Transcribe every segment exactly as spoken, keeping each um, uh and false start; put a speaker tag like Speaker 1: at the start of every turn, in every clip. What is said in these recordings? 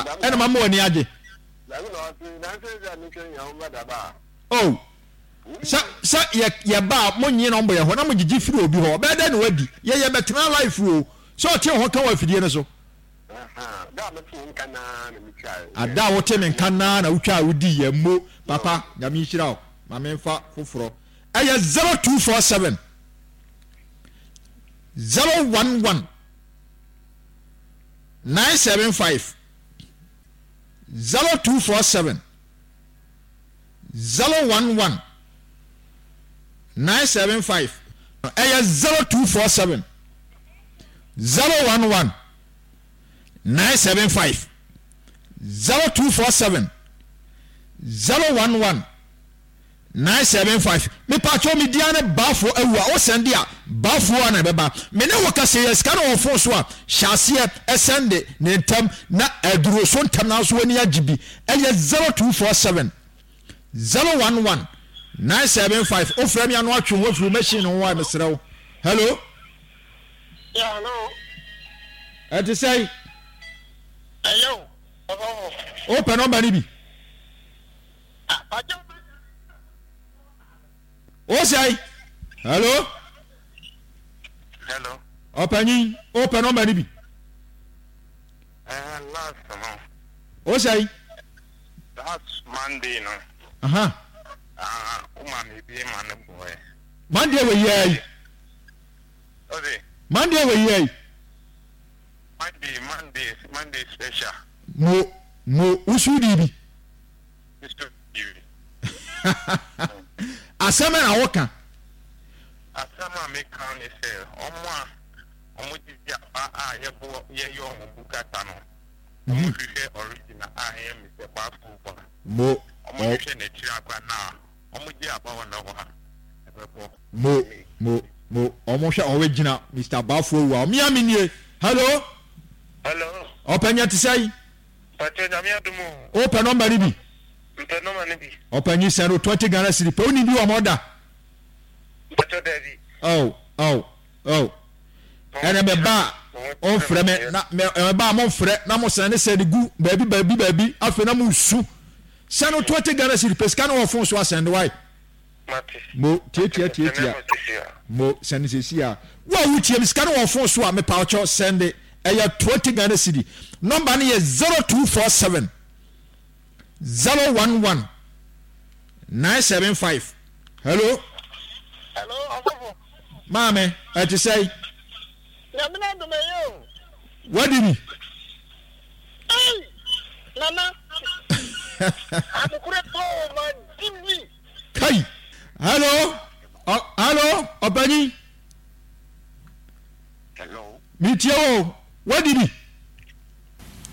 Speaker 1: Ɛna mama w'ani agye. Oh, sɛ sɛ yɛ yɛba a mo nye nɔmba yɛ hɔ na mo gyegye firi obi hɔ, ɔbɛyɛ dɛ na wadi. Yɛ yɛ bɛtena life o. Sɛ ɔte ho ka wɔ afidie no so. Ada a wote me nka naa na wotwa a wodi yɛ mo papa. Nyame nhyira wo. Ma memfa foforɔ. Ɛyɛ zero two four seven zero one one nine seven five, zero two four seven zero one one nine seven five. Ɛyɛ zero two four seven zero one one nine seven five, zero two four seven zero one one nine seven five. Mepatwɛ, me dia ne Baafo awu a wosɛnde a, Baafo a na ɛbɛba. Me ne wo kasa yɛ sika no wɔ phone so a, hyɛ aseɛ ɛsɛnde ne ntɛm na aduro so ntɛm na nso w'ani agye bi. Ɛyɛ zero two four seven zero one one nine seven five. Wofrɛ me ano atwe ho afiri machine ho a, mesrɛ wo. Hello.
Speaker 2: Yeah, hello.
Speaker 1: Ɛte sɛn?
Speaker 2: Ɛyɛ o, ɔsɔfo.
Speaker 1: Wopɛ nɔmba no bi?
Speaker 2: Ah, pàjọ́.
Speaker 1: Wo sɛn? Hello.
Speaker 2: Hello.
Speaker 1: Ɔpanyin, wopɛ nɔmba no bi?
Speaker 2: Uh, last no.
Speaker 1: Wo sɛn?
Speaker 2: Last Monday no.
Speaker 1: Aha.
Speaker 2: Ah, uh, uma mi bi ma ne boy.
Speaker 1: Monday wɔ yia yi?
Speaker 2: Ose.
Speaker 1: Monday wɔ yia yi?
Speaker 2: Monday, Monday, Monday special.
Speaker 1: Mo mo wusu di bi?
Speaker 2: Mister Bi.
Speaker 1: Asɛm na woka.
Speaker 2: Asɛm a meka ne sɛ, ɔmo a ɔmo gyegye aba a yɛbɔ yɛyɛ ɔmo bukata no, ɔmo hwehwɛ original a ɛyɛ Mister Bafo ba.
Speaker 1: Mo.
Speaker 2: Ɔmo hwehwɛ n'akyiri akwa na ɔmo gye aba wɔ n'hɔ a ɛbɛbɔ.
Speaker 1: Mo mo mo ɔmo hwɛ original Mister Bafo awu a ɔmo mi nie. Hello.
Speaker 2: Hello.
Speaker 1: Ɔpɛnyɛ te sɛ yi?
Speaker 2: Pàtó, Nyame adom o.
Speaker 1: Wopɛ nɔmba no bi?
Speaker 2: Mpɛ nɔma no bi.
Speaker 1: Ɔpanyin, sɛ no twenty Ghana cedi pɛ. Woni bi wɔ ma ɔda?
Speaker 2: Pàtó, dabi.
Speaker 1: Oh oh oh, ɛnna mɛ ba a ɔnfrɛ me na mɛ mɛ ba a mo nfrɛ na mo sɛn ne sɛn de gu baabi baabi baabi. Afei na mo su sɛ no twenty Ghana cedi pɛ. Sika no wɔ phone so, asɛn de wae.
Speaker 2: Mate.
Speaker 1: Mo tietia tietia mo sɛn sɛsi a wo a wotie mi, sika no wɔ phone so a, mepa ɔkyɛw, sɛn de. Ɛyɛ twenty Ghana cedi. Nɔmba no yɛ zero two four seven zero one one nine seven five. Hello.
Speaker 2: Hello, ɔsɔfo.
Speaker 1: Maame, ɛte sɛ?
Speaker 2: Nyame na adom, ɛyɛ o.
Speaker 1: Wadi bi?
Speaker 2: Ei, Nana. Adekore paa ma di bi.
Speaker 1: Kai, hello. Ɔ hello, ɔpanyin.
Speaker 2: Hello.
Speaker 1: Metie wo, wadi bi?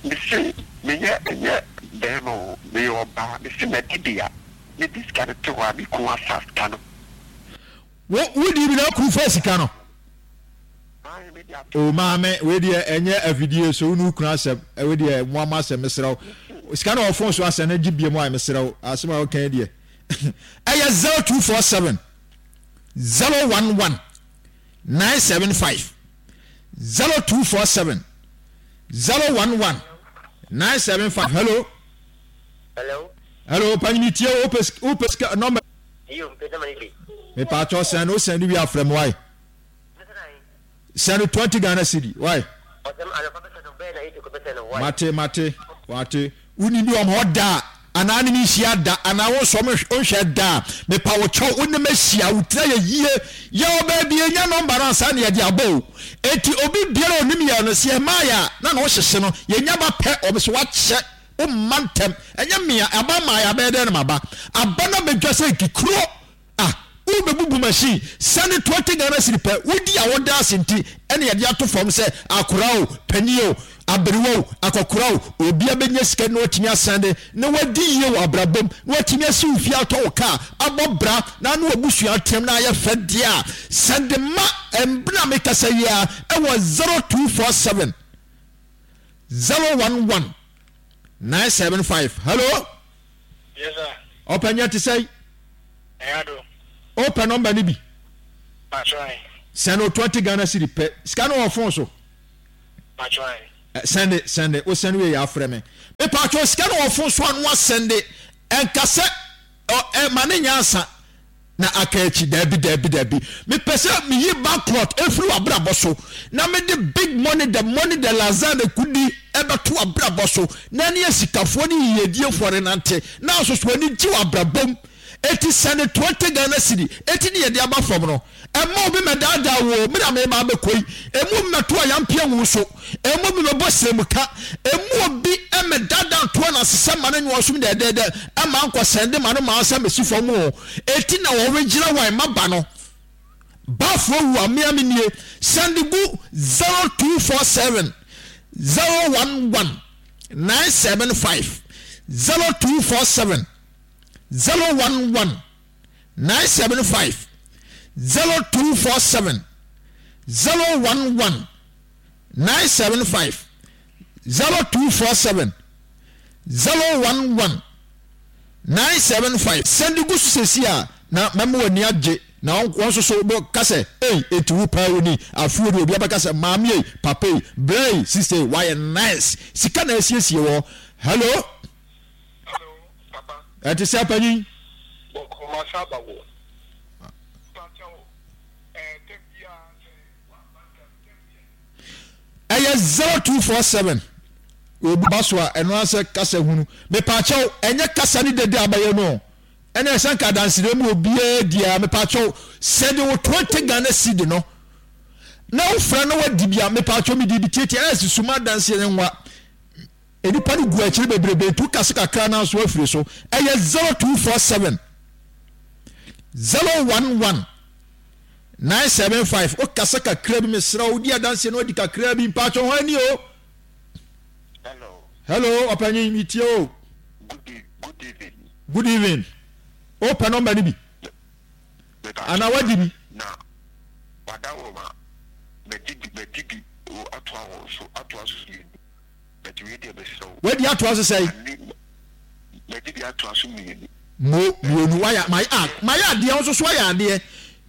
Speaker 2: Mese meyɛ ɛnyɛ bɛrima o, meyɛ ɔbaa. Mese madi bi a, mede sika no to hɔ a, me kun asa sika no.
Speaker 1: Wo wodi bi na kuru fa sika no?
Speaker 2: Ayi, mede ato.
Speaker 1: O maame, wei deɛ ɛnyɛ afidie so, wo ne wo kunu asɛm. Wei deɛ mo ama asɛm. Mesrɛ wo, sika no wɔ phone so, asɛm no gye bie mu a, mesrɛ wo, asɛm a woka yi deɛ, ɛyɛ zero two four seven zero one one nine seven five, zero two four seven zero one one nine seven five. Hello.
Speaker 3: Hello.
Speaker 1: Hello, panyini, tie wo. Wopɛ wopɛ sika nɔmba?
Speaker 3: Iyo, mpɛ sɛ ma ne bi.
Speaker 1: Mepaakyɛw, sɛn no, sɛn no wie afrɛ me wae. Sɛn no twenty Ghana cedi wae.
Speaker 3: Ɔsɛm anɔpa bɛsɛ no bɛyɛ na eight kɔ bɛsɛ no wae.
Speaker 1: Mate mate mate. Woni bi wɔn hɔ da a, anaa ne me nhyia da, anaa wo nso nhwɛ da a, mepa wo kyɛw, wo ne me ahyia, wo tira yɛ yie. Yɛ wɔ baabi enya nɔmba no ansa na yɛde abɔ o. Eti obi biara onim yɛ no sɛ yɛmaa yɛ a na na ɔhyehye no yɛnya ba pɛ. Ɔmo so wakyɛ wo mma ntɛm. Ɛnyɛ mmea aba maa yɛ abɛyɛ dɛn na ma ba aba na bɛdwa sɛ nkikuro a wobɛbubu machine. Sɛne twenty Ghana cedi pɛ wodi a, woda ase. Nti ɛne yɛde ato fam sɛ akora o, panyin o, aberewa o, akɔkora o, obia bɛnya sika na watumi asɛnde na wadi yie wɔ abrabom na watumi asi wo fie, atɔ wo kaa, abɔ bra na ne wabusua ateam na ayɛ fɛ deɛ a, sɛnde ma mbena mekasa yi a ɛwɔ zero two four seven zero one one nine seven five. Hello.
Speaker 2: Yes, sir.
Speaker 1: Ɔpɛnyɛ, te sɛ?
Speaker 2: Ɛyɛ do.
Speaker 1: Wopɛ nɔmba no bi?
Speaker 2: Patro.
Speaker 1: Sɛne o twenty Ghana cedi pɛ. Sika no wɔ phone so.
Speaker 2: Patro.
Speaker 1: Sɛnde, sɛnde, wo sɛnde wie yɛ afrɛ me. Mepatwɔ sika no wɔ fon so a no asɛnde. Ɛnka sɛ ɔ ɛ ma ne nyɛ ansa na aka akyi. Daabi, daabi, daabi. Mepɛ sɛ meyi bankrupt efiri w'abrabɔ so na mede big money, the money, the lazar, the kudi ɛbɛto w'abrabɔ so na ɛne asikafoɔ ne yiyediefoɔ renante na nso so ani gye w'abrabɔ mu. Eti sɛnde twenty Ghana cedi eti ne yɛde aba fam no. Ɛmma obi mmɛdaadaa wo o, me na mereba abɛkɔ yi. Ɛmma obi mmɛto ayampea ngu wo so. Ɛmma obi mmɛbɔ srɛmuka. Ɛmma obi mmɛdaadaa nto ananse sɛ ma no nyɛ ɔsom dɛɛdɛɛdɛ mma nkɔsɛnde ma no ma ansa mmɛsi fam o. Eti na wɔregyina hɔ a mma ba no. Bafoɔ wu a mea me nie. Sɛnde gu zero two four seven zero one one nine seven five zero two four seven zero one one nine seven five zero two four seven zero one one nine seven five zero two four seven zero one one nine seven five. Sɛnde gu so sɛsi a na mɛma w'ani agye na wɔn nso so bɛka sɛ ei enti wo paa wo ni afei de obi abɛka sɛ maame ei papa ei bra ei sister ei wayɛ nice sika na asiesie wɔ hello.
Speaker 2: Hello, papa.
Speaker 1: Ɛte sɛ panyin.
Speaker 2: Bɔkɔ masa aba wo. Mpakyɛw, ɛɛ da biara sɛ waba da da biara.
Speaker 1: Ɛyɛ zero two four seven. Obi ba so a ɛno ara sɛ kasa hunu. Mepaakyɛw, ɛnyɛ kasa ne dede abɛyɛ no. Ɛna ɛsɛ nka adansere mu obiara di a mepaakyɛw sɛde wo twenty Ghana cedi no. Na wofrɛ no wadi bi a mepaakyɛw mede bi tietie ɛyɛ suma adanseɛ ne nwa. Nnipa no gu akyiri bebrebe nti woka se kakra no nso afiri so. Ɛyɛ zero two four seven zero one one nine seven five. Woka se kakra bi mesrɛ wo di adanseɛ no adi kakra bi mpaatwɔ ho ani o.
Speaker 2: Hello.
Speaker 1: Hello, ɔpanyin metie o.
Speaker 2: Good, e good evening.
Speaker 1: Good evening. Wopɛ nɔmba no bi? Anaa wadi bi?
Speaker 2: Na wada wɔ ma mɛdi bi mɛdi bi o atoa wɔn so atoa so mmienu. But wei deɛ mesrɛ wo.
Speaker 1: Wadi atoa so sɛn?
Speaker 2: Madi bi atoa so mmienu.
Speaker 1: Mo mmienu wayɛ mayɛ ah mayɛ adeɛ nso so ayɛ adeɛ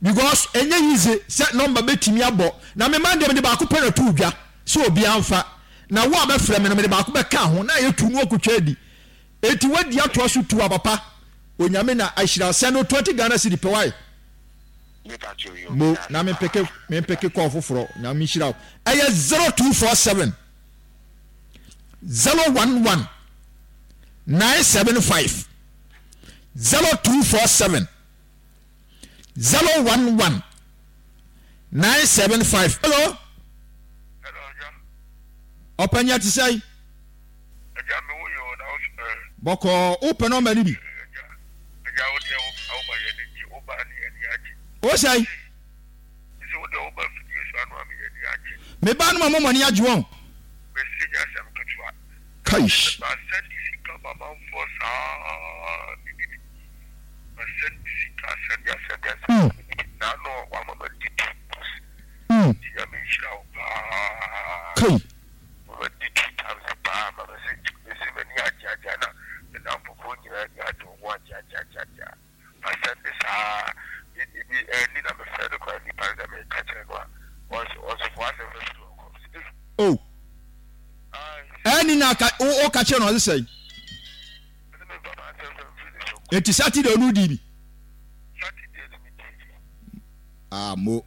Speaker 1: because ɛnyɛ easy sɛ nɔmba bɛtumi abɔ na me man deɛ mede baako pɛ na to dwa sɛ obiara mfa na wo a bɛfrɛ me no mede baako bɛka ho na ayɛ tu no akotwa adi eti wadi atoa so tu a papa onyame na ahyira sɛ no twenty Ghana cedi pɛ wae. Mo na me mpeke me mpeke kɔɔ foforɔ nyame nhyira wo ɛyɛ zero two four seven zero one one nine seven five zero two four seven zero one one nine seven five. Hello. Ɔpanyin ati sɛ yi. Bɔkɔɔ wopɛ nɔmba no bi. O sɛ. Me ba no ma mo mɔni agye wɔn. Kaish. Mm. Mm. Kai. Oh. Ɛni na ka o ka kyerɛ no ɔse sɛn? Eti Saturday ɔno di bi. Ah mo.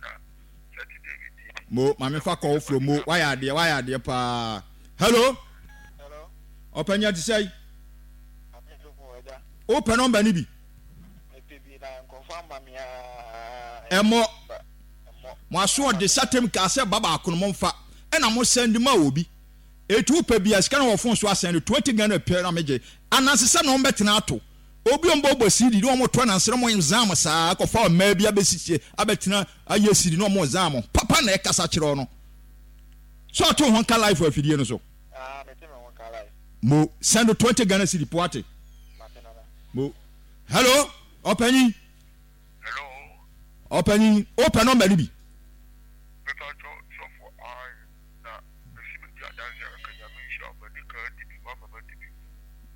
Speaker 1: Mo maame fa kɔ wofuro mo wayɛ adeɛ wayɛ adeɛ paa. Hello. Ɔpanyin ti sɛn? Wopɛ nɔmba no bi? Ɛmmɔ. Mo aso ɔde satem kaa sɛ ba baako no momfa ɛna mo sɛnde ma obi. Eti wopɛ bi a sika no wɔ fon so asɛnde twenty Ghana pɛ na megye. Ananse sɛ na wɔbɛtena ato. Obi a wɔbɔbɔ C D na wɔto ananse na wɔn zam saa akɔfa mmaa bi abɛsisie abɛtena ayɛ C D na wɔn zam. Papa na ɛkasa kyerɛ no. So ɔto ho nka live wɔ afidie no so. Mo send twenty Ghana cedi po ate. Mo hello ɔpanyin.
Speaker 2: Hello.
Speaker 1: Ɔpanyin wopɛ nɔmba no bi.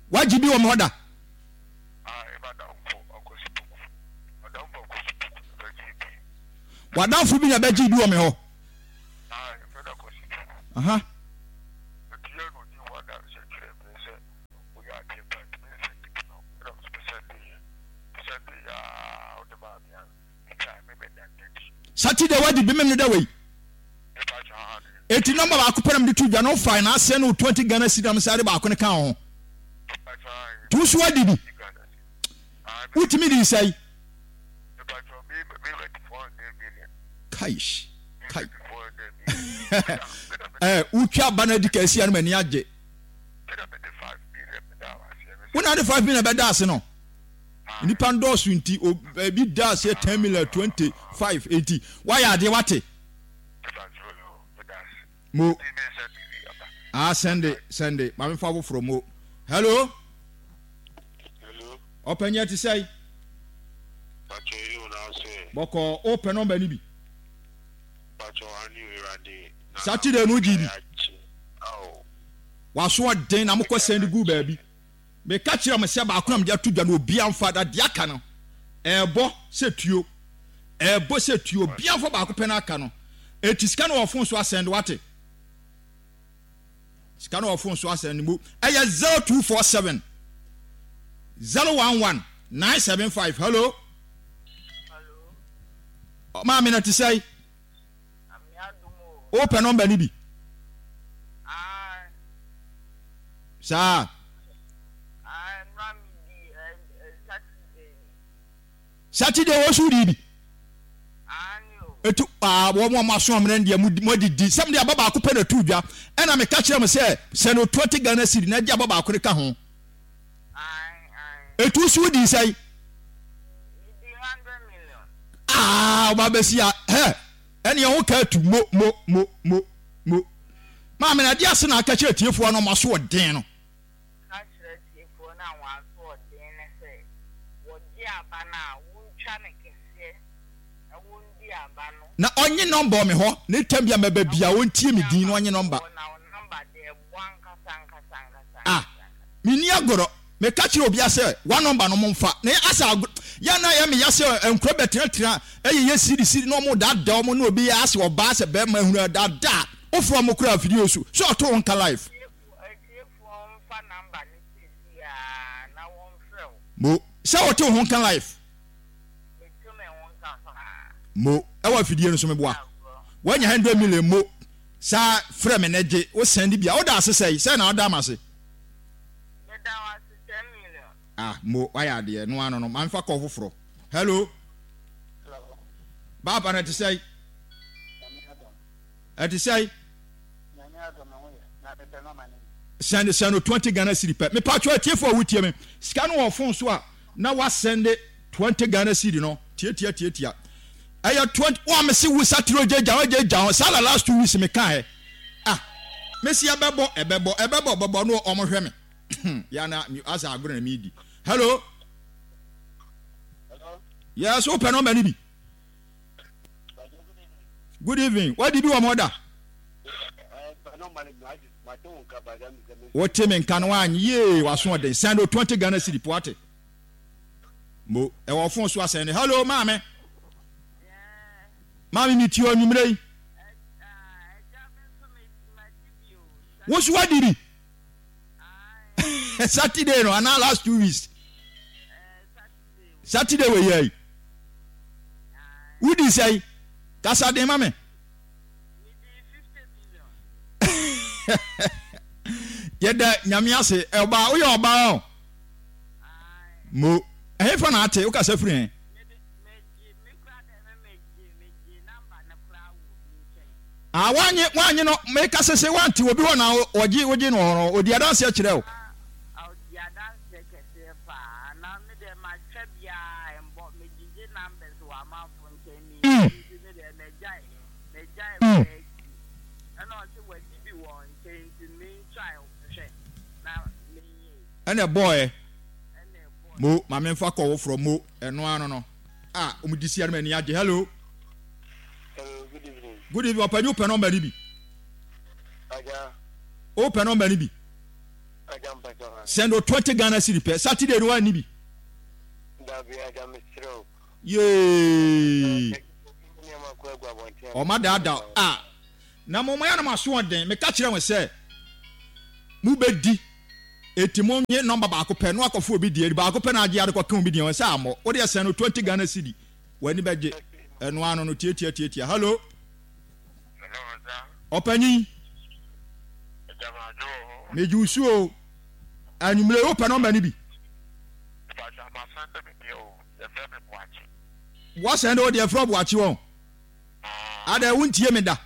Speaker 1: Wagye bi wɔ me hɔ da. W'adamfo bi na bɛgye bi wɔ me hɔ. Aha. Saturday wadi bi mem no da wei. Eti nɔmba baako pɛ na mede to dwa no wofae na asɛn no twenty Ghana cedi na mesare baako no ka ho. To so adi bi. Wotumi di sɛe. Kaish. Kai. Eh, wotwa aba no adi ka asia no m'ani agye. Wo na de five million bɛda ase no. Nnipa ndɔɔso nti ebi da aseɛ ten million twenty five enti wayɛ adeɛ wate. Mo. Ah, sɛnde sɛnde maame fa foforɔ mo. Hello.
Speaker 2: Hello.
Speaker 1: Ɔpanyin ɛte sɛn? Bɔkɔɔ wopɛ nɔmba no bi? Saturday no wogye bi? Waso ɔden na mokɔ sɛn de gu baabi. Meka kyerɛ mo sɛ baako na mede ato dwa no obiara mfa na deɛ aka no ɛɛbɔ sɛ tuo. Ɛɛbɔ sɛ tuo obiara mfa baako pɛ na aka no. Eti sika no wɔ fon so asɛn de wate. Sika no wɔ fon so asɛn mu ɛyɛ zero two four seven zero one one nine seven five. Hello. Maame na te sɛe. Wopɛ nɔmba no bi? Saa. Saturday wɔ so di bi. Etu aa wɔn a wɔaso amena deɛ mo adidi sɛm de aba baako pɛ na tu dwa ɛna meka kyerɛ mo sɛ sɛ no twenty Ghana cedi na gye aba baako de ka ho. Etu so di sɛn? Aa ɔba bɛsi a hɛ ɛne ɛho ka atu mo mo mo mo mo. Maame na ɛde ase na aka kyerɛ tiefoɔ no ɔmo aso ɔden no.
Speaker 2: Ka kyerɛ atiefoɔ no a wɔn aso ɔden no sɛ, wɔgye aba no a, wontwa no kɛseɛ na wɔndi aba no.
Speaker 1: Na ɔnye nɔmba wɔ me hɔ, ne tam bi a mɛba biara ɔntie me din na ɔnye nɔmba.
Speaker 2: Na wo nɔmba deɛ ɛbɔ ankasa ankasa ankasa
Speaker 1: Ah,
Speaker 2: ankasa.
Speaker 1: menni agorɔ. Meka kyerɛ obiara sɛ, W'anɔmba no momfa. Na yɛ asɛ agorɔ, yɛ a na ɛyɛ me ya sɛ nkura bɛtenatena ɛyeyɛ siri siri na wɔn daadaa wɔn na obi yɛ asɛ ɔbaa asɛ bɛrima ahunu daadaa. Wofrɛ wɔn koraa afidie so sɛ ɔto wo nka live.
Speaker 2: Atiefoɔ mfa number no seesei ara na wɔmfrɛ wo.
Speaker 1: Mo, sɛ wote wo ho nka live.
Speaker 2: Meto me ho nka paa.
Speaker 1: Mo, ɛwɔ afidie no so meboa. Woanya hundred million mo, saa frɛ me na gye, wo send bi a, woda ase sɛe, sɛn na woda m'ase?
Speaker 2: Meda wo ase ten million.
Speaker 1: Ah mo, wayɛ adeɛ, no ano no, ma mefa call foforɔ. Hello.
Speaker 3: Hello.
Speaker 1: Baaba no ɛte sɛe?
Speaker 3: Nyame adom.
Speaker 1: Ɛte sɛe?
Speaker 3: Nyame adom me ho yɛ na mepɛ no ama ne bi.
Speaker 1: Sɛnde sɛn no twenty Ghana cedi pɛ. Mepatwɔ atiefo a wotie me, sika no wɔ phone so a na wasɛnde twenty Ghana cedi no tiatia tiatia. Ɛyɛ twenty wo a mese wo satire ogya gya ogya gya ho saa na last two weeks me kaɛ. Ah mese ɛbɛbɔ ɛbɛbɔ ɛbɛbɔ bɛbɔ no ɔmo hwɛ me. Ya na asa agorɔ na medi. Hello.
Speaker 3: Hello.
Speaker 1: Yes, wopɛ nɔmba no bi. Good evening. Wadi bi wɔ mo da? Wote me nka no wanyɛ yie waso ɔden. Send o twenty Ghana cedi po ate. Mo ɛwɔ phone so asɛn ne. Hello maame. Maame mi tie ɔnwumire yi. Wo so wadi bi? Saturday no anaa last two weeks. Saturday wɔ yɛ yi. Wodi sɛn? Kasa den ma me. Yɛda Nyame ase. Ɔbaa, woyɛ ɔbaa o. Mo, ɛhefa na ate? Wokasa firi he? Ah, wanye, wanye no, meka sese wante obi hɔ na ɔgye, wogye no wɔ hɔ no, ɔdi adanseɛ kyerɛ wo.
Speaker 2: Ɔdi adanseɛ kɛseɛ paa na me deɛ matwa biaa ɛmbɔ megyegye numbers wɔ amanfo nkyɛn menni nti me deɛ magyae magyae koraa akyi ɛna ɔse wagye bi wɔ nkyɛn nti mentwae hwɛ na menyɛi.
Speaker 1: Ɛna ɛbɔɔɛ
Speaker 2: Ɛna ɛbɔɔɛ.
Speaker 1: Mo ma menfa kɔ woforɔ mo ɛno ano no a ɔmo di sia no m'ani agye hello.
Speaker 3: Hello, good evening.
Speaker 1: Good evening ɔpanyin wopɛ nɔmba no bi.
Speaker 3: Agya.
Speaker 1: Wopɛ nɔmba no bi. Send o twenty Ghana cedi pɛ. Saturday no wanni bi.
Speaker 3: Dabi agya mesrɛ o.
Speaker 1: Yee. Ɔma daadaa a na mo yɛ na mo aso ɔden. Meka kyerɛ wɔn sɛ mo bɛ di eti mo nye nɔmba baako pɛ no akɔfo obi deɛ baako pɛ na agye ade kɔka obi deɛ wɔn sɛ amɔ. Wo deɛ send o twenty Ghana cedi w'ani bɛgye. Ɛno ano no tietia tietia. Hello. Ɔpanyin. Megye wo so o. Anwummere wopɛ nɔmba no bi? Woasɛn de wo deɛ frɛ Boakye wɔn. Adɛ wontie me da.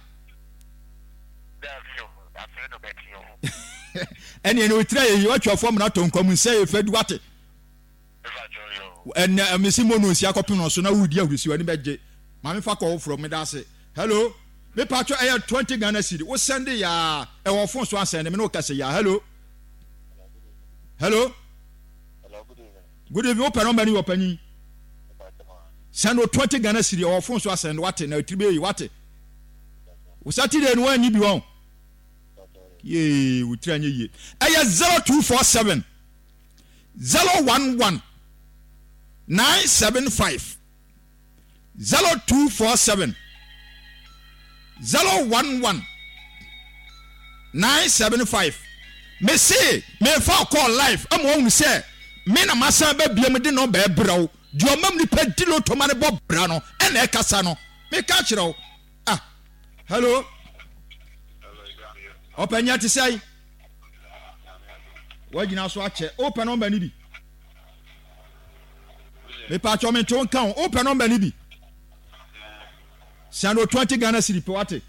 Speaker 1: Ɛneɛ ne otira yɛ yi watwa fam na tɔ nkwa mu nsɛ yɛ fɛ du wate. Ɛnɛ mesi mo no nsi akɔpem no so na wodi ahurisi w'ani bɛgye. Maame fa kɔ foforɔ meda ase. Hello. Me patro ɛyɛ twenty Ghana cedi. Wo send ya ɛwɔ phone so asɛn me ne wo kɛse ya. Hello. Hello. Good evening. Wo pɛ nɔmba ni wɔ panyin. Send o twenty Ghana cedi ɛwɔ phone so asɛn wate na etiri bɛyi wate. Wo Saturday no wanyi bi wɔn. Yee wo tiri anyɛ yie. Ɛyɛ zero two four seven zero one one nine seven five zero two four seven zero one one nine seven five. Mese mefa ɔkɔɔ live ama wɔn sɛ me na masan ba biam de nɔmba ɛbrɛ wo deɛ ɔmam nipa di loto ma ne bɔ bra no ɛna ɛkasa no meka kyerɛ wo. Ah, hello. Ɔpanyin te sɛn? Wagyina so akyɛ. Wopɛ nɔmba no bi? Mepatwɔ me nto nka wo. Wopɛ nɔmba no bi? Send o twenty Ghana cedi pɛ wate.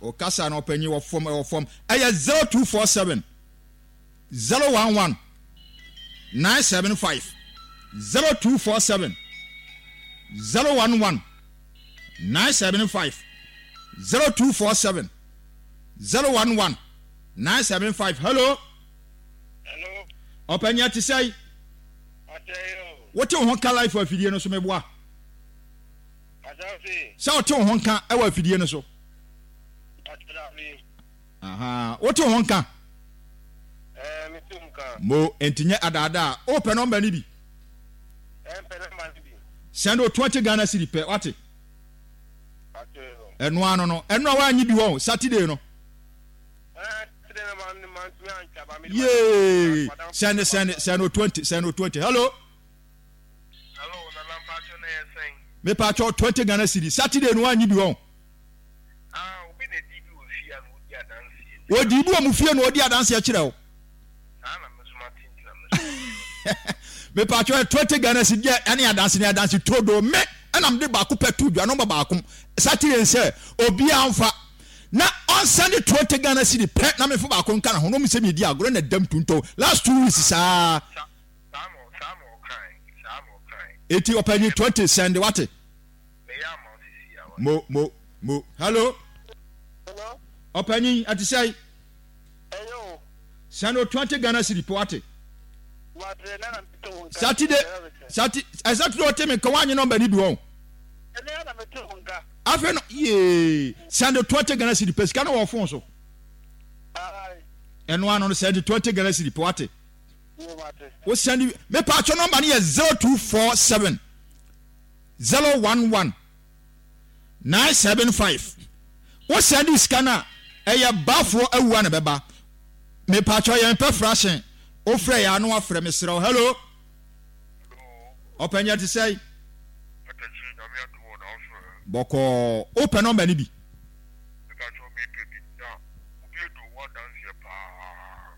Speaker 1: Ɔkasa na ɔpanyin wɔ fam ɛwɔ fam. Ɛyɛ zero two four seven zero one one nine seven five zero two four seven zero one one nine seven five zero two four seven zero one one nine seven five. Hello.
Speaker 3: Hello.
Speaker 1: Ɔpanyin te sɛ. Wote wo ho ka life afidie no so meboa. Sɛ wote wo ho nka ɛwɔ afidie no so. Aha, wote wo ho nka. Mo enti nyɛ adaadaa. Wopɛ nɔmba no bi? Send o twenty Ghana cedi pɛ wate. Ɛno ano no, ɛno a woanyi bi wɔ Saturday no. Yee, send send send o twenty, send o twenty. Hello.
Speaker 3: Hello, Nana Mpacho na yɛ sɛn?
Speaker 1: Me pacho twenty Ghana cedi. Saturday no woanyi bi wɔ.
Speaker 3: Ah, obi na di bi wɔ fie a na odi adanseɛ.
Speaker 1: Odi bi wɔ mo fie na odi adanseɛ kyerɛ wo.
Speaker 3: Saa na me nso mate nti na me nso.
Speaker 1: Me pacho twenty Ghana cedi deɛ ɛne adanse ne adanse todo me ɛna mede baako pɛ to dwa nɔmba baako Saturday sɛ obiara mfa na ɔnsɛnde twenty Ghana cedi pɛ na mefa baako nka ne ho na ɔmu sɛ medi agorɔ na dam tuntɔn last two weeks saa. Eti ɔpanyin twenty sɛnde wate. Mo mo mo hello. Ɔpanyin ɛte sɛ. Sɛnde o twenty Ghana cedi pɛ wate. Saturday Saturday Saturday ɔte mi nka wanye nɔmba ni bi wɔn. Afei no yee sɛnde twenty Ghana cedi pɛ sika no wɔ fon so. Ɛno ano no sɛnde twenty Ghana cedi pɛ wate. Wo sɛnde mepa atwa nɔmba no yɛ zero two four seven zero one one nine seven five. Wo sɛnde sika no a ɛyɛ bafoɔ awua na bɛba. Mepa atwa yɛn pɛ frahyɛn. Wofrɛ yɛ ano afrɛ mesrɛ wo. Hello. Ɔpɛnyɛ te sɛ. Bɔkɔɔ. Wopɛ nɔmba no bi?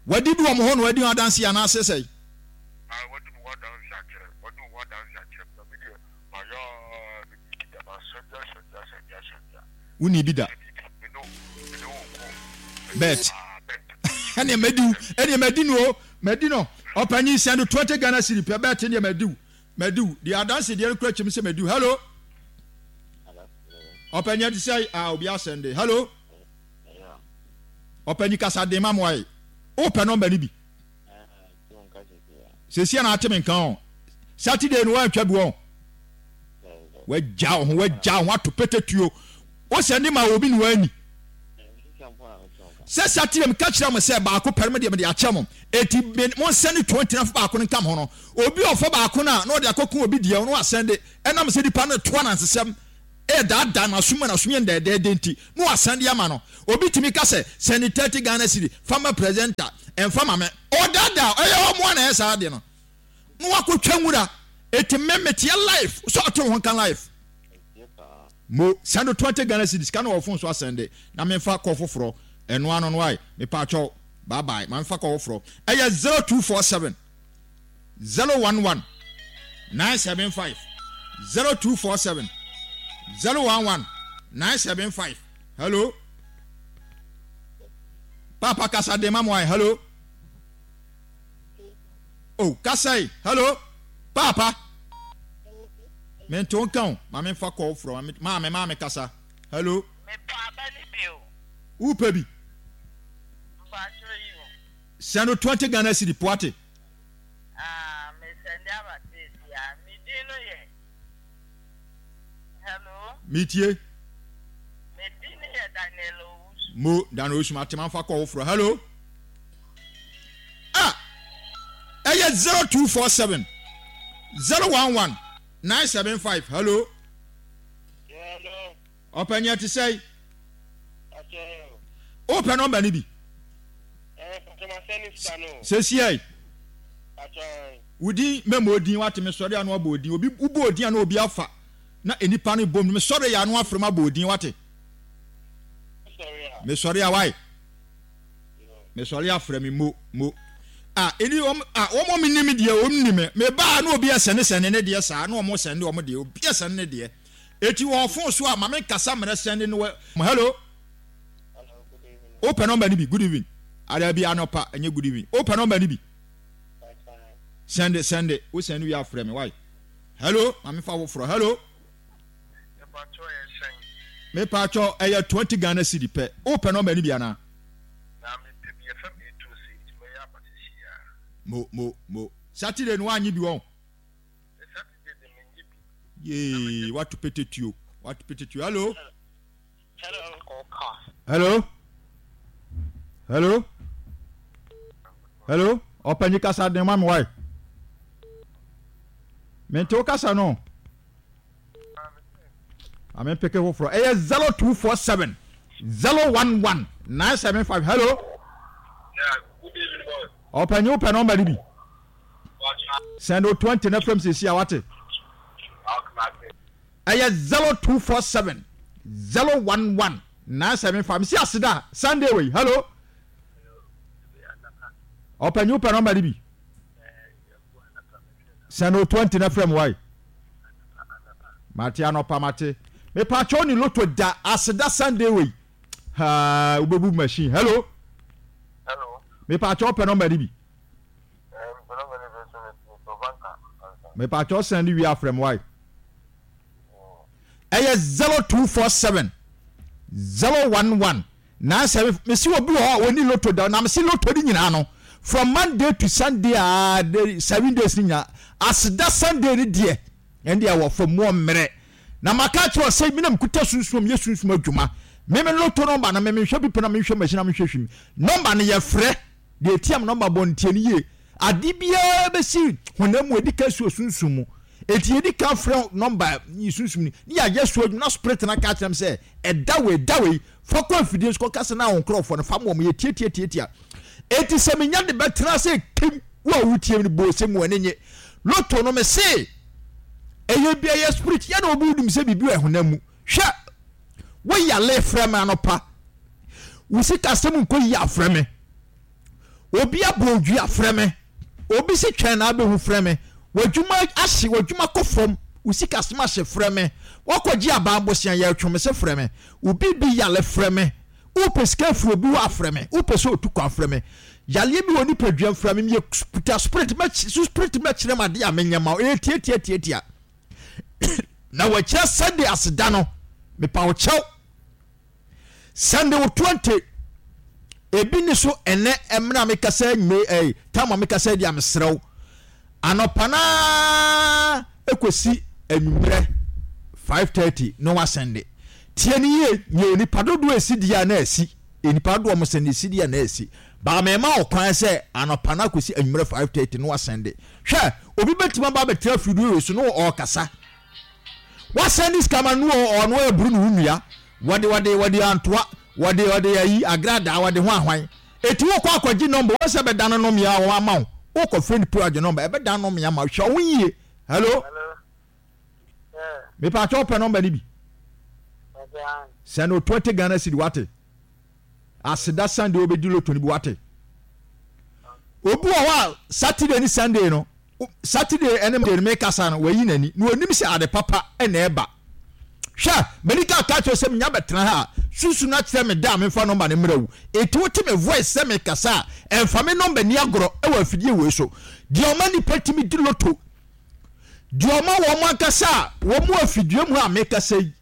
Speaker 1: Wadi bi wɔ mo hɔ na wadi ho adanse anaasɛ sɛe? Wonni bi da. Bet. Ɛneɛ madi wo. Ɛneɛ madi no o. Madi no. Ɔpanyin send twenty Ghana cedi pɛ bet neɛ madi wo. Madi wo. Deɛ adanse deɛ no kura kyɛm sɛ madi wo. Hello. Ɔpanyin ɛte sɛ ah obi asɛnde. Hello. Ɔpanyin kasa den ma mo ayɛ. Wopɛ nɔmba no bi? Sɛsi na ate me nka o. Saturday no woantwa bi wɔn. Wagya wo ho, wagya wo ho ato petetuo. Wo sɛnde ma obi na wani. Sɛ Saturday meka kyerɛ mo sɛ baako pɛre me deɛ mede akyɛ mo. Eti mo nsɛnde twenty na fa baako no nka mo ho no. Obi a ɔfa baako no a na ɔde akɔko obi deɛ no asɛnde. Ɛnam sɛ nipa no toa nansesɛm ɛdaadaa n'asom ma n'asom yɛ ndɛɛdɛɛdɛ nti na wasɛnde ama no. Obi tumi ka sɛ sɛnde thirty Ghana cedi fa ma presenter ɛmfa ma me. Ɔdaadaa ɛyɛ ɔmo a na ɛyɛ saa adeɛ no. Na wakɔtwa nwura. Eti me meteɛ life sɛ ɔte wo ho nka life. Mo send twenty Ghana cedis sika no wɔ phone so asɛnde na memfa kɔ foforɔ ɛno ano no ae mepaakyɛw bye bye ma memfa kɔ foforɔ ɛyɛ zero two four seven zero one one nine seven five zero two four seven zero one one nine seven five hello papa kasa de ma mo ae hello oh kasa yi hello papa mente wo nka o ma memfa kɔ foforɔ maame maame kasa hello.
Speaker 2: Mepɛ aba no bi o.
Speaker 1: Wopɛ bi?
Speaker 2: Mpakyɛ yi o.
Speaker 1: Send no twenty Ghana cedi poate.
Speaker 2: Ah, me sɛnde aba seesia. Me din no yɛ. Hello.
Speaker 1: Metie.
Speaker 2: Me din no yɛ Daniel Owusu.
Speaker 1: Mo, Daniel Owusu, mate ma nfa kɔ foforɔ. Hello. Ah, ɛyɛ zero two four seven zero one one nine seven five. Hello.
Speaker 3: Hello.
Speaker 1: Ɔpɛni ɛte sɛn? Wopɛ nɔmba no bi? Sesiei. Wo din mɛmɔ odin wate mesɔre ano abɔ odin obi wobɔ odin ano obi afa na nipa no bom mesɔre yɛ ano afrɛ mu abɔ odin wate mesɔre a wae mesɔre afrɛ me mo mo a ɛni wɔn a wɔn wɔn nim deɛ wɔn nim me baa na obi ɛsɛne sɛne ne deɛ saa na wɔn sɛne wɔn deɛ obi ɛsɛne ne deɛ Eti wɔ phone so a ma me nkasa mmerɛ sɛnde no wɔ. Hello. Wopɛ nɔmba no bi? Good evening. Adabi anɔpa ɛnyɛ good evening. Wopɛ nɔmba no bi? Sɛnde sɛnde wo sɛnde wie afrɛ me why? Hello ma me fa foforɔ. Hello. Mepatwɔ ɛyɛ twenty Ghana cedi pɛ. Wopɛ nɔmba no bi anaa? Mo mo mo. Saturday no wanye bi wɔn. Yee, wato pete tuo. Wato pete tuo. Hello. Hello. Hello. Hello. Ɔpanyin kasa den ma mi wae. Mente wo kasa no. Ame mpeke foforɔ. Ɛyɛ zero two four seven zero one one nine seven five. Hello. Ɔpanyin wopɛ nɔmba no bi. Send o twenty na fam sisi a wate. Ɛyɛ zero two four seven zero one one nine seven five. Mesi aseda Sunday wei. Hello. Ɔpanyin wopɛ nɔmba no bi. Send o twenty na fam wai. Mate anɔpa mate. Mepatwɔ ne loto da aseda Sunday wei. Haa wobɛbu machine. Hello.
Speaker 3: Hello.
Speaker 1: Mepatwɔ wopɛ nɔmba no bi. Mepatwɔ sɛn de wie afrɛ m wae. Ɛyɛ zero two four seven zero one one nine seven. Mesi obi wɔ hɔ a wɔni loto da na mesi loto ne nyinaa no from Monday to Sunday a de seven days ne nyinaa aseda Sunday ne deɛ ɛn deɛ wɔ fam mu mmerɛ na maka kyerɛ sɛ mi na mekuta sunsum yɛ sunsum adwuma meme loto nɔmba no meme nhwɛ pipa na mehwɛ machine na mehwɛ hwim nɔmba no yɛfrɛ Deɛ ɛtia me nɔmba bɔ no tie no yie. Ade biara bɛsi honam mu ɛdi kan si wɔ sunsum mu. Enti yɛdi kan frɛ nɔmba yi sunsum ni ne yɛayɛ so adwuma na spirit no aka akyerɛ me sɛ ɛda wei da wei fa kɔ afidie so kɔka sɛ na wo nkorɔfoɔ no fa ma wɔn yɛtiatiatiatia. Enti sɛ menya de bɛtena sɛ kim wo a wotie me no bɔ ose mu ani nye. Loto no mese ɛyɛ bi ɛyɛ spirit yɛ na obi wonim sɛ biribi wɔ honam mu. Hwɛ wo yale frɛ me anɔpa. Wo sikasɛm nkɔ yie afrɛ me. Obi abɔ odua frɛ me. Obi si twɛn na abɛhu frɛ me. W'adwuma ahye, w'adwuma kɔ fam, wo sikasɛm ahye frɛ me. Woakɔgye aban bosea yɛretwe me se frɛ me. Obi bi yale frɛ me. Wopɛ sika afiri obi hɔ afrɛ me. Wopɛ sɛ otu kwan frɛ me. Yareɛ bi wɔ nipaduam frɛ me. Meyɛ kuta spirit mɛkyi so spirit mɛkyerɛ m adeɛ a menyɛ ma wo. Ɛyɛ tiatiatiatia. Na wɔakyerɛ Sunday aseda no mepa wo kyɛw. Sunday wo twenty ebi ni so ɛnɛ ɛmena mekasa anwumere ɛyi tam a mekasa di a mesrɛ wo anɔpa naa ekosi anwummerɛ five thirty na wasɛnde tie ne yie nyɛ onipa dodoɔ esi di a na esi onipa dodoɔ mo sɛnde esi di a na esi baama ɛma ɔkwan sɛ anɔpa naa kosi anwummerɛ five thirty na wasɛnde hwɛ obi bɛtumi aba abɛtena afidie wei so na ɔrekasa. Wasɛnde sika ma no ɔno aburu ne ho nnua wɔde wɔde wɔde antoa wɔde wɔde ayi agradaa wɔde ho ahwan eti wokɔ akɔgye nɔmba wɔn sɛ ɛbɛda no nɔmea wɔn ama wo wokɔ fɛ nipa agye nɔmba ɛbɛda nɔmea ma hwɛ wo yie Hello. Mepatwa, wopɛ nɔmba no bi? Sɛ no twenty Ghana cedi, wate? Aseda Sunday wobɛdi lotto no bi, wate? Obi wɔ hɔ a, Saturday ne Sunday no, Saturday ɛne Monday no, mekasa no, wayi n'ani na onim sɛ ade papa ɛna ɛba. Hwɛ, mani ka ka kyerɛ sɛ menya bɛtena ha a, susu no akyerɛ me da a memfa nɔmba no mmerɛ wo. Ɛti wote me voice sɛ mekasa a, ɛmfa me nɔmba ni agorɔ ɛwɔ afidie wei so. Deɛ ɔma nipa tumi di lotto, deɛ ɔma wɔn ankasa a wɔn mu afidie mu a mekasa yi,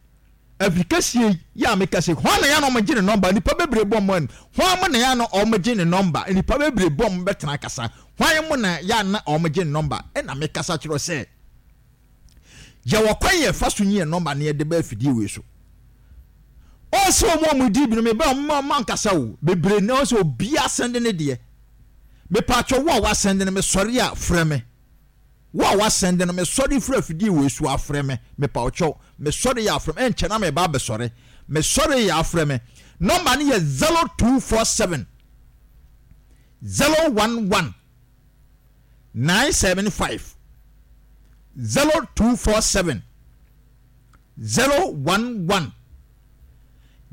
Speaker 1: afikɛsie yi a mekasa yi, hɔn na yɛ na ɔmo gye ne nɔmba. Nipa bebree bɔ ɔmo anim. Hɔn mo na yɛ na ɔmo gye ne nɔmba? Nipa bebree bɔ ɔmo bɛtena kasa. Hɔn mo na yɛ na ɔmo gye ne nɔmba? Ɛna mekasa kyerɛ sɛ yɛwɔ kwan yɛ fa so nyi yɛ nɔmba ne yɛde bɛ afidie wei so. Ɔsɛ ɔmo ɔmo di bi no, mebɛ ɔmo ɔmo ankasa o bebree na ɔsɛ obi asɛnde ne deɛ. Mepatwɛ, wo a wasɛnde no, mesɔre a frɛ me. Wo a wasɛnde no, mesɔre firi afidie wei so afrɛ me. Mepa ɔkyɛw, mesɔre yɛ afrɛ me. Ɛnkyɛ na meba abɛsɔre. Mesɔre yɛ afrɛ me. Nɔmba no yɛ zero two four seven zero one one nine seven five, zero two four seven zero one one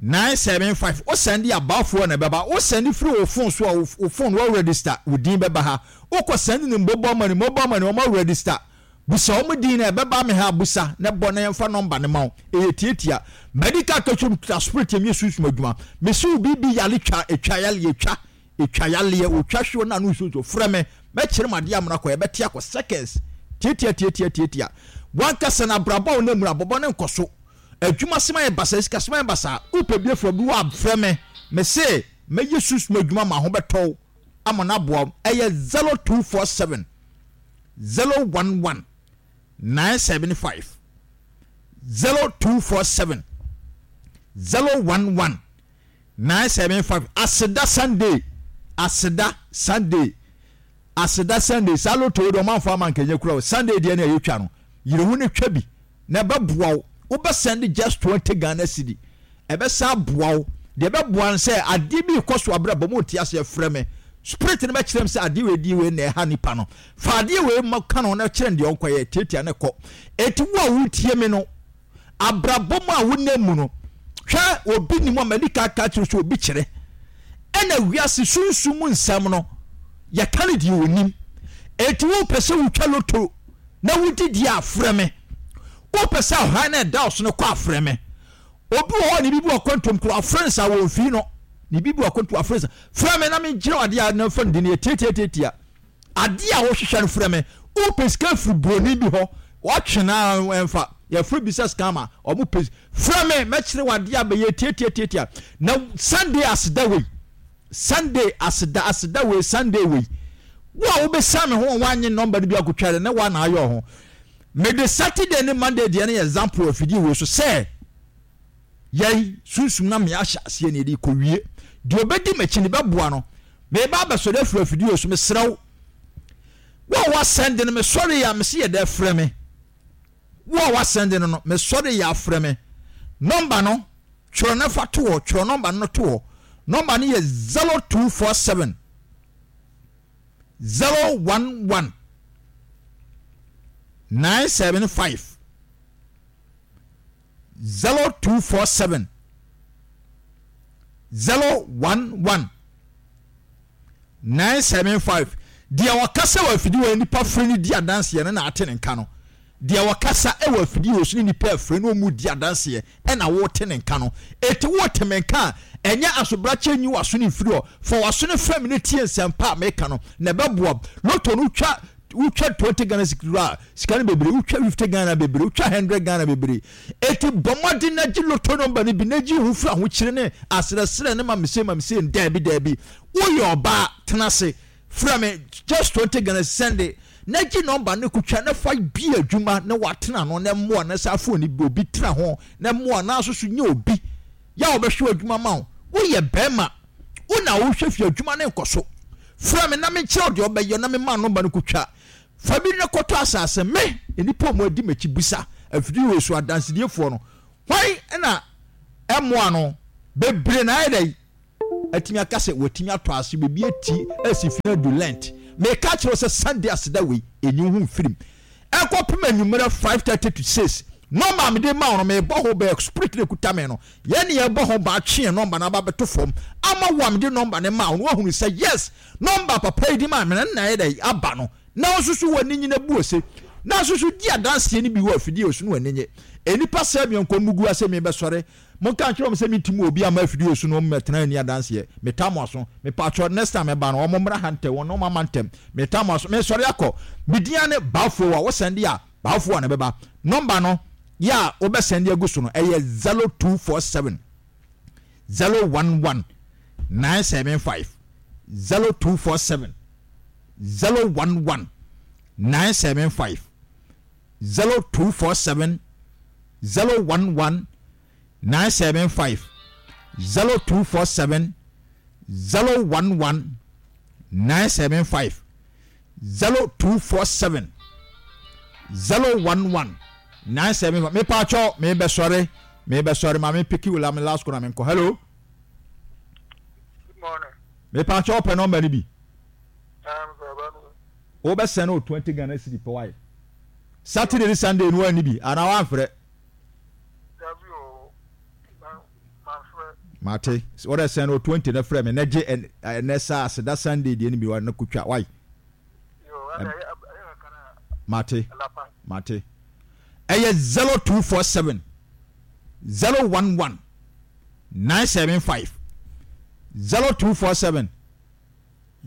Speaker 1: nine seven five. O send abaafoɔ na ɛbɛba. O send firi wo phone so a, wo phone wɔ register, wo din bɛba ha. Wokɔ send ne mobile money, mobile money wɔn register, busa wɔn din na ɛbɛba me ha. Busa na bɔ na yɛmfa nɔmba ne ma wo. Ɛyɛ tietia medical kɛtwam kita spirit yɛm yɛ sunsun adwuma. Mesi wo biribi yale twa, etwa yale, etwa etwa yaleɛ, otwa hwew na ano nsuo. Frɛ me, mɛkyerɛ mu adeɛ amuna kɔ, yɛbɛte akɔ seconds. Tietia tietia tietia. Wankasa na abrabɔ a wɔn mu abɔbɔ ne nkɔ so, adwuma sɛm ayɛ basa, sika sɛm ayɛ basa. Wopɛ bi afiri obi wɔ, afrɛ me. Mese mɛyɛ sunsun adwuma ma ho bɛtɔw ama no aboa wo. Ɛyɛ zero two four seven zero one one nine seven five, zero two four seven zero one one nine seven five. Aseda Sunday, Aseda Sunday, Aseda Sunday. Saa lotto yi de, ɔmanfo ama nkɛnyɛ kura o. Sunday deɛ ne a yɛtwa no, yere ho ne twa bi na ɛbɛboa wo. Wobɛsɛnde just twenty Ghana cedi, ɛbɛsa aboa wo. Deɛ ɛbɛboa no sɛ adeɛ bi kɔ so abrɛ bɔ mo nte aseɛ, frɛ me. Spirit no bɛkyerɛ m sɛ adeɛ wei di wei na ɛha nipa no. Fa adeɛ wei ma ka no na kyerɛ no deɛ ɔnkɔyɛ. Tietia ne kɔ. Eti wo a wotie me no, abrabɔ mu a wonam mu no, hwɛ, obi nim a mani ka ka kyerɛ sɛ obi kyerɛ. Ɛna wiase sunsum mu nsɛm no, yɛka no deɛ onim. Eti wopɛ sɛ wotwa lotto na wodi deɛ a, frɛ me. Wopɛ sɛ ɔhan na ɛda ɔso no kɔ a, frɛ me. Obi wɔ hɔ ne bibi wɔ kwantom koro, afrɛ no sa wɔn fi no ne bibi wɔ kwantom, afrɛ sa. Frɛ me na menkyerɛ adeɛ a na fa no di no yɛ tiatiatiatia. Adeɛ a wohwehwɛ no, frɛ me. Wopɛ sika firi buroni bi hɔ, watwe na ɛmfa, yɛfrɛ bi sɛ scammer, ɔmo pɛ. Frɛ me, mɛkyerɛ wo adeɛ a bɛyɛ tiatiatiatia. Na Sunday aseda wei, Sunday aseda, aseda wei, Sunday wei, wo a wobɛsa me ho a woanye nɔmba no bi akotwa de ne woa na ayɛ ho. Mede Saturday ne Monday deɛ no yɛ example afidie wei so sɛ yɛn sunsum na mmea ahyɛ aseɛ ne yɛde kɔwie. Deɛ ɔbɛdi m'akyi ne bɛboa no. Meba abɛsɔre afiri afidie wei so. Mesrɛ wo, wo a wasɛnde no, mesɔre yɛ a, mese yɛ dɛ frɛ me. Wo a wasɛnde no no, mesɔre yɛ afrɛ me. Nɔmba no, twerɛ no fa to hɔ. Twerɛ nɔmba no to hɔ. Nɔmba no yɛ zero two four seven zero one one nine seven five, zero two four seven zero one one nine seven five. Deɛ wɔkasa wɔ afidie wɔ nipa firi no di adanseɛ no na ate ne nka no. Deɛ wɔkasa wɔ afidie wɔ so ne nipa afiri no ɔmu di adanseɛ ɛna wɔte ne nka no. Eti wɔte me nka a, ɛnyɛ asobrakyɛ. Nyi w'aso ne mfiri hɔ, fa w'aso ne fam ne tie nsɛmpa a meka no na ɛbɛboa. Lotto no, wotwa wotwa twenty Ghana sika, sika no bebree. Wotwa fifty Ghana bebree, wotwa hundred Ghana bebree. Eti bɔ mmɔden na gye lotto nɔmba no bi na gye ho firi ahokyere ne asrɛsrɛ ne ma mese ma mese. Daabi, daabi, woyɛ ɔbaa, tena ase, frɛ me. Just twenty Ghana, send na gye nɔmba no kotwa na fa bi adwuma na watena no na mmoa na saa phone bi obi tena ho na mmoa na nso so nye obi yɛ a wɔbɛhwɛ adwuma ma wo. Woyɛ bɛrima, wo na wohwɛ fi adwuma ne nkɔ so, frɛ me na menkyerɛ wo deɛ ɔbɛyɛ na mema nɔmba no kotwa. Fa bi ne kɔtɔ asase. Me nnipa a wɔn adi m'akyi, busa afidie wɔ so adansediefoɔ no, hwan na ɛmoa no bebree na ayɛ dɛ atumi aka sɛ wɔatumi atɔ ase baabi ati asi fi adu lent. Meka kyerɛ sɛ Sunday aseda wei, ɛnyi wo ho mfirim. Ɛkɔpem anwummerɛ five thirty to six. Nɔmba a mede ma wo no, mebɔ ho bɛɛ spirit no ekuta me no. Yɛn ne yɛbɔ ho ba atwe yɛn nɔmba no aba abɛto fam ama wo a mede nɔmba no maa wo no, woahunu sɛ yes, nɔmba papa yi de maa me no na ayɛ dɛ aba no. Na wo nso so w'ani nye na bu ose. Na nso so di adanseɛ no bi wɔ afidie so na w'ani nye. Nnipa sɛɛ me nkɔm mugu ase mebɛsɔre. Monka nkyerɛ wɔn sɛ mentim wɔ obi amma afidie so na wɔn mmɛtena nni adanseɛ. Metaa mo aso. Mepaakyɛw next time mɛba no wɔn mmra ha ntɛm, wɔn wɔn ama ntɛm. Metaa mo aso. Mesɔre akɔ. Me din ara ne Bafo a wo sɛnde a Bafo a na ɛbɛba. Number no yɛ a wobɛ sɛnde agu so no ɛyɛ zero two four seven zero one one nine seven five zero two four seven zero one one nine seven five zero two four seven zero one one nine seven five zero two four seven zero one one nine seven five zero two four seven zero one one nine seven five. Mepatwɔ mebɛsɔre mebɛsɔre ma me piki wula me last call na menkɔ. Hello.
Speaker 3: Good morning.
Speaker 1: Mepatwɔ wopɛ nɔmba no bi.
Speaker 3: Um,
Speaker 1: wobɛsɛn no twenty Ghana cedi pɛ wae. Saturday ne Sunday no wanni bi anaa wamfrɛ? Mate. Wɔdɛ sɛn no twenty na frɛ me na gye ɛnɛ saa aseda Sunday deɛ no bi wa na kotwa wae. Mate. Mate. Ɛyɛ zero two four seven zero one one nine seven five zero two four seven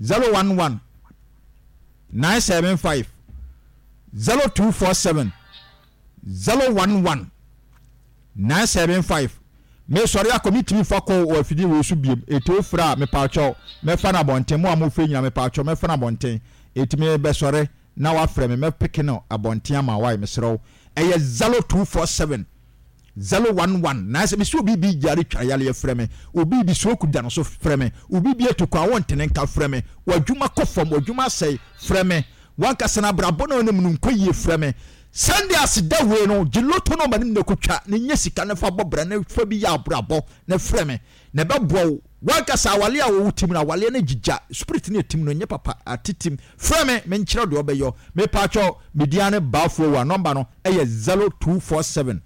Speaker 1: zero one one nine seven five zero two four seven zero one one nine seven five. Mesɔre akɔ, metumi fa kɔ wɔ afidie wei so biem. Eti wofrɛ a, mepaakyɛw, mɛfa no abɔnten. Mo a mofrɛ nyinaa, mepaakyɛw, mɛfa no abɔnten. Eti mebɛsɔre na wafrɛ me, mɛpeke no abɔnten ama wo. Wae, mesrɛ wo. Ɛyɛ zero two four seven zero one one nine seven. Mesi obi bi yare twa yareɛ, frɛ me. Obi bi stroke da no so, frɛ me. Obi bi atu kwan, wontene nka, frɛ me. W'adwuma kɔ fam, w'adwuma asɛe, frɛ me. W'ankasa no abrabɔ na ɔnim no nkɔ yie, frɛ me. Sunday aseda wei no, gye lotto nɔmba no mu na kɔtwa na nya sika na fa bɔ bra na fa bi yɛ abrabɔ na frɛ me na ɛbɛboa wo. W'ankasa awale a wɔwɔ tim no, awaleɛ no agyigya, spirit no ɛtim no nyɛ papa, atetim. Frɛ me, menkyerɛ deɛ ɔbɛyɔ. Mepaakyɛw, me din ara ne Baafoɔ Awuah, nɔmba no yɛ zero two four seven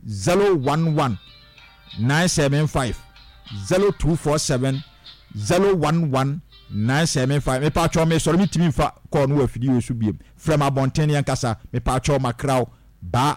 Speaker 1: zero one one nine seven five, zero two four seven zero one one nine seven five. Mepaakyɛw, mesɔre, mentumi mfa call no wɔ afidie wei so biom. Frɛ me abɔnten na yɛnkasa. Mepaakyɛw, makra wo. Bye